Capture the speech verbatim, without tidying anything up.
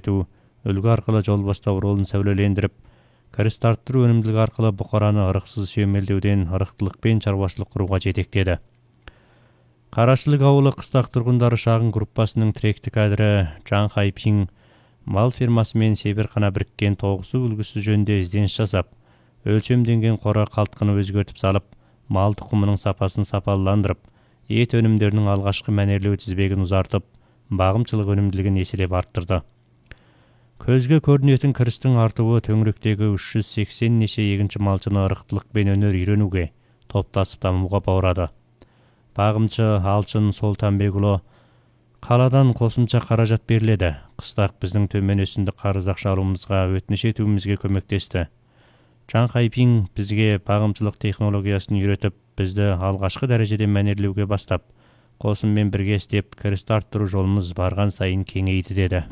өзгөртүү, үлгү аркылуу жол баштоо ролун сөбөлөлендирип, кырыс арттыруу өнүмдүүлүгү аркылуу букараны ырыксыз сүйөмелдөөдөн ырыктылык менен чарбачылык курууга жетектеди. Карашылык ауылы кыстак тургундары шагын группасынын тиректик кадры Чан Хайпин мал фермасы менен Себеркана бириккен тогусу үлгүсү жөнүндө издениш жасап, өлчөмдөнгөн кора калткыны өзгөртүп салып, мал тукумунун сапасын сапаландырып, эт өнүмдөрүнүн алгачкы манерлөө тизбегин узартып, багымчылык өнүмдүүлүгүн эселеп арттырды. Көзгө көрүнөтүн кырыстын артыбы төңүрөктөгү үч жүз сексен нече эгинчи малчыны ырыктылык менен өнөр үйрөнүүгө, топташып дамууга баурады. Багымчы Алчын Солтанбек уулу каладан косумча каражат берилди. Кыстак биздин төмөн өсүмдүк карыз акча алуубузга өтүнүч этүүбүзгө көмөктөштү. Чан Хайпин бизге багымчылык технологиясын үйрөтүп, бизди алгачкы дарежеде манерлөөгө баштап, косум менен бирге иштеп, кырысты арттыруу жолубуз барган сайын кеңейди деди.